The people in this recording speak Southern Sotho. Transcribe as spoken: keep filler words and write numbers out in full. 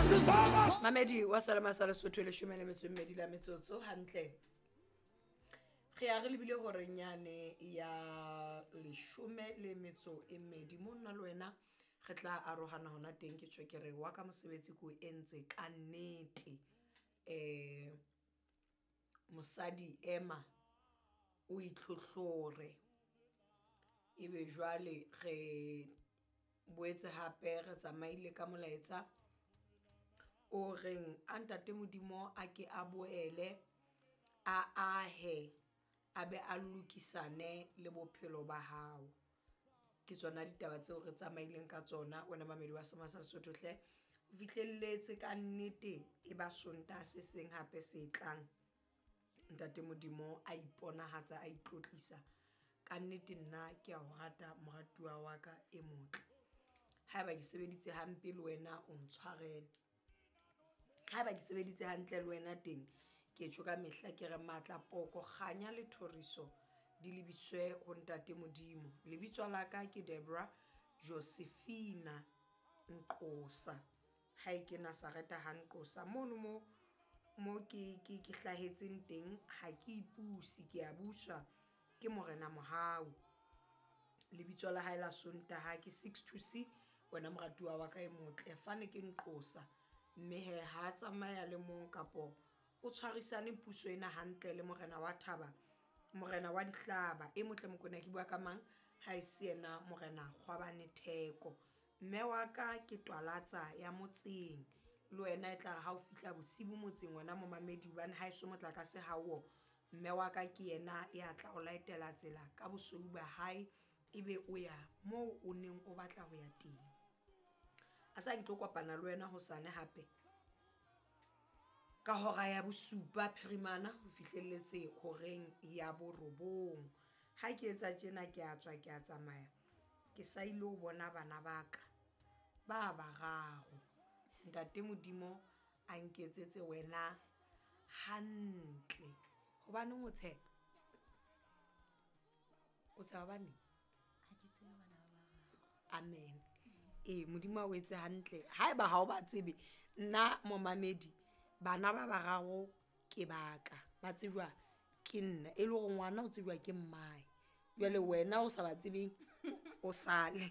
Mamedi wa Salama sa Lesotho, leshome le metso e mmedi la metsotso hantle re ya re lebile horeng yane ya leshome le metso e mmedi. Mo nna le wena re tla arohana hona teng. Ke tjho ke re wa ka mosebetsi ko entse ka nnete. um Mosadi ema o itlhohlore, ebe jwale re boetse hape re tsamaile ka molaetsa o reng a ntate Modimo a ke a boele a ahe a be a lokisane le bophelo ba hao. Ke tsona ditaba tseo re tsamaileng ka tsona wena mamedi wa Sema sa Lesotho hle. O fihlelletse ka nnete e ba Sontaha se seng hape se tlang. Ntate Modimo a iponahatsa a itlotlisa ka nnete. Nna ke a o rata moratuwa wa ka e motle. Haeba ke sebeditse hampe le wena o ntshwarele, haeba ke sebeditse hantle le wena teng ke tjho ka mehla ke re matla poko kganya le thoriso di lebiswe ho ntate Modimo. Lebitso la ka ke Debra Josephina Nqosa, hae ke Nazareta ha Nqosa mono mo mo ke ke ke hlahetseng teng. Ha ke ipuse, ke a buswa ke Morena Mohau. Lebitso la hae la Sontaha ke six to C. Wena moratuwa wa ka e motle, fane ke Nqosa, mme he ha tsamaya le mong kapo o tshwarisane puso ena hantle le morena wa thaba, morena wa dihlaba e motle. Mokwena ke bua ka mang ha e se yena Morena Kgwabane Theko? Mme wa ka ke twalatsa ya motseng, le wena e tla re ha o fihla bosibu motseng wena momamedi, hobane ha eso motlakase hao, mme wa ka ke yena ya tla o laetela tsela ka bosweu ba hae, ebe o ya moo o neng o batla ho ya teng. A tsa ke tlo kopana le wena hosane hape ka hora ya bosupa phirimana ho fihlelletse horeng ya borobong. Ha ke etsa tjena ke a tswa ke a tsamaya, ke sa ile ho bona bana ba ka ba bararo. Ntate Modimo a nketsetse wena hantle. Hobaneng o tsheha? O tsheha hobaneng? Ha ke tsebe bana ba bararo. Amen. Ee, Modimo a o etse hantle. Haeba ha o ba tsebe, nna momamedi, bana ba bararo ke baka ba tsejwa ke nna, e le hore ngwana o tsejwa ke mmae. Jwale wena o sa ba tsebeng o sale.